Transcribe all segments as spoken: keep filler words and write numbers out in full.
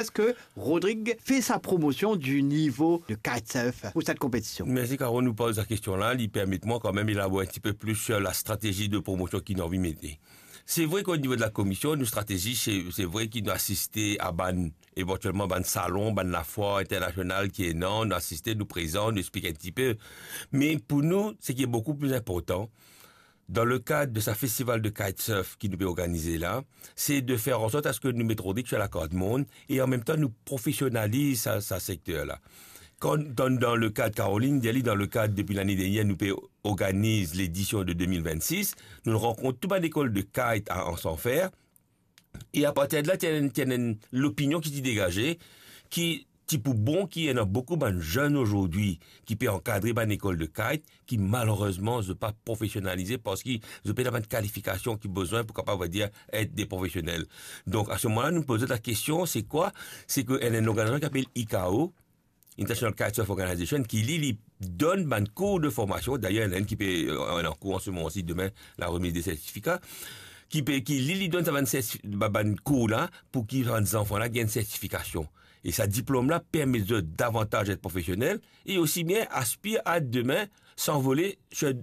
Est-ce que Rodrigue fait sa promotion du niveau de kitesurf pour cette compétition? Mersi, Carole, nou poz sa kestion la. Li permet mwa kanmem elabor enn tipe plis sur la stratezi de promosion ki nou anvi mete. Se vre ki o nivo de la komision, nou stratezi, se, se vre ki nou asiste a bann, evantielman bann salon, bann lafwar internasional ki ena, nou asiste, nou prezan, nou explik enn tipe. Me pou nou, seki boukou pli inportan, dan le kad de sa festival de kitesurf ki nou pe organize la, se de fer an sort aske nou met Rodrigue sur la kart mond e an mem tan nou profesionaliz sa, sa sekter la. Kan, dan, dan le kad, Caroline, dir li, dan le kad, depi lane dernier, nou pe organiz ledision de de mil vennsis, nou rankont tou bann lekol de kite a Anse en Fer, e apartir de la, ti ena, ti ena enn lopinion ki ti degaze, ki ti pou bon ki ena boukou bann zenn azordi ki pe ankadre bann lekol de kite, ki malerezman zot pa profesionalize parski zot pena bann kalifikasion ki bizin pou kapav, on va dir, et de profesionel. Donk, a se moman la, nou poz la kestion, se kwa? Se ki ena enn lorganizasion ki apel I C A O, International Kitesurf Organization, ki li, li donn bann kour de formasion. Dayer, ena enn ki pe, euh, an kour an se moman osi, demin, la remiz de sertifika, ki pe, ki li, li donn sa bann sertif-, ba-, bann kour la, pou ki bann zanfan la gagn sertifikasion. E sa diplom la permet zot davantaz et profesionel e osi bien aspir a demin sanvole sur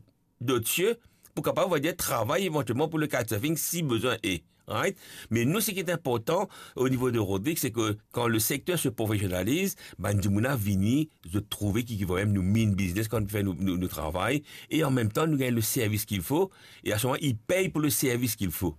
dot sie pou kapav, on va dir, travay evantielman pou le kitesurfing si bizin e, right? Me nou, seki inportan o nivo de Rodrigue, se ki kan le sekter se profesionaliz, bann dimoun la vini, zot trouve ki, ki vremem nou mean business kan nou fer nou, nou, nou travay, e an mem tan nou gagn le servis ki fo, e a se moman, li pey pou le servis ki fo.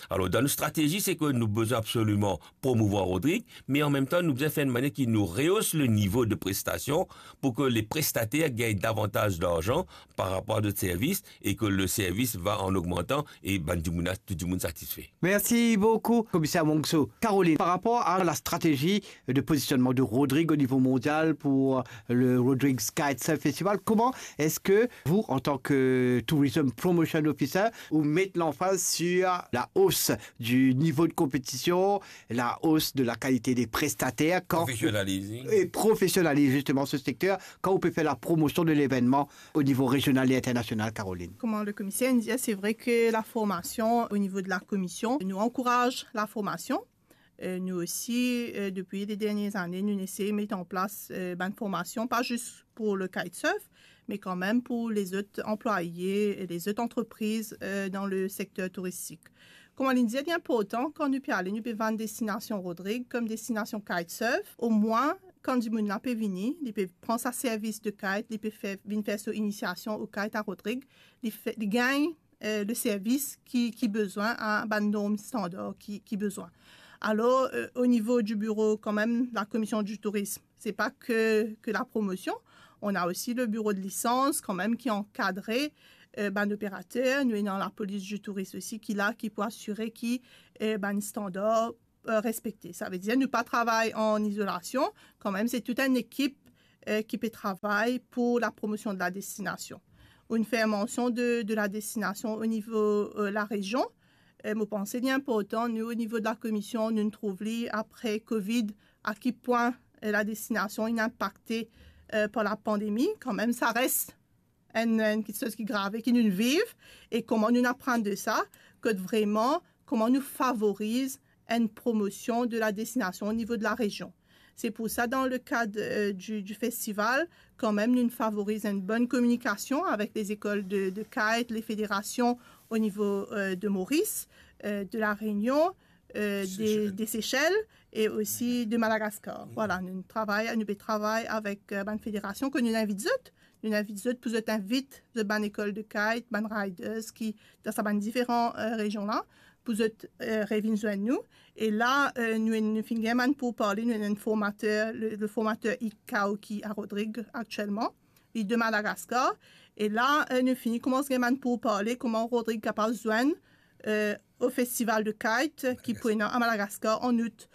Alor, dan nou stratezi, se ki nou bizin absoliman promouvwar Rodrigue, me an mem tan, nou bizin fer enn manier ki nou reos le nivo de prestasion pou ki le prestater gagn davantaz larzan par rapor a zot servis e ki le servis va an ogmantan e bann dimoun la, tou dimoun satisfe. Merci beaucoup, commissaire Mongso. Caroline, par rapport à la stratégie de positionnement de Rodrigue au niveau mondial pour le Rodrigue's Kitesurf Festival, comment est-ce que vous, en tant que Tourism Promotion Officer, vous mettez l'emphase sur la hausse du niveau de compétition, la hausse de la qualité des prestataires, quand... Professionnalising. Et professionnaliser justement ce secteur, quand on peut faire la promotion de l'événement au niveau régional et international, Caroline? Kouma le komiser inn dir, se vre ki laformasion o nivo de la komision, nou ankouraz laformasion. Euh, nou osi, euh, depi le dernie zane, nou esey met an plas, euh, bann formasion, pa zis pou le kitesurf, me kanmem pou lezot anplwaye e lezot antrepriz, euh, dan le sekter touristik. Kouma li dir, li inportan, kan nou pe ale, nou pe vann destinasion Rodrigue kom destinasion kitesurf, omwin, kan dimoun la pe vini, li pe pran sa servis de kite, li pe fer, vinn fer so inisiasion o kite a Rodrigue, li fer, li gagn, euh, le servis ki, ki bizin, a bann norm standar ki, ki bizin. Alor, euh, o nivo di biro, kanmem, la komision di tourism, se pa ki, ki la promosion, on a osi le biro de lisans, kanmem, ki ankadre, euh, bann operater. Nou ena lapolis di tourism osi ki la, ki pou asire ki, euh, bann standar, euh, respekte. Savedir, nou pa travay an izolasion, kanmem, se tou enn ekip, euh, ki pe travay pou la promosion de la destinasion. Ou inn fer mansion de, de la destinasion o nivo, euh, larezion. Euh, mo panse li inportan, nou, o nivo de la komision, nou trouv li apre covid, a ki pwin, euh, la destinasion inn inpakte, euh, par la pandemi. Kanmem, sa res enn, enn kiksoz ki grav e ki nou viv, e kouma nou aprann de sa, kot vreman, kouma nou favoriz enn promosion de la destinasion o nivo de larezion. Se pou sa, dan le kad, euh, di, di festival, kanmem, nou favoriz enn bonn kominikasion avek lezekol de, de kite, lefederasion o nivo, euh, de Moris, euh, de La Rényon, euh, de, de Sesel e osi de Madagaskar. Vwala, nou travay, nou pe travay avek, euh, bann federasion ki nou invit zot. Nou invit zot pou zot invit zot bann lekol de kite, bann riders ki dan sa bann diferan, euh, rezion la, pou zot, euh, revinn zwenn nou. E la, euh, nou, nou finn gagn bann pourparle, nou ena enn formater, le, le formater I C A O ki a Rodrigue aktielman, li de Madagaskar. E la, euh, nou finn koumans gagn bann pourparle kouma Rodrigue kapav zwenn, euh, o festival de kite ki pou ena a Madagaskar an out.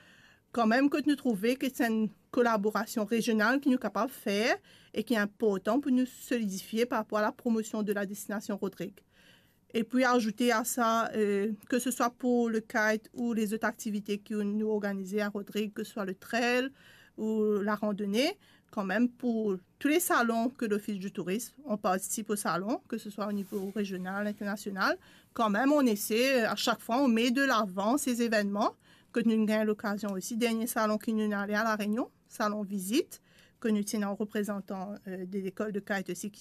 Kanmem, kot nou trouve ki se enn kolaborasion rezional ki nou kapav fer e ki inportan pou nou solidifie par rapor a la promosion de la destinasion Rodrigue. E pou azoute a sa, euh, ki se swa pou le kite ou lezot aktivite ki nou organize a Rodrigue, ki se swa le trail ou la randone, kanmem pou tou le salon ki Lofis di Tourism, on partisip o salon, ki se swa o nivo rezional, internasional, kanmem, on esey, euh, a sak fwa, on met de lavan se zevennman, kot nou gagn lokazion osi, dernie salon ki nou ale a La Réunion, salon vizit, kot nou ti ena reprezantan, euh, de lekol de kite osi ki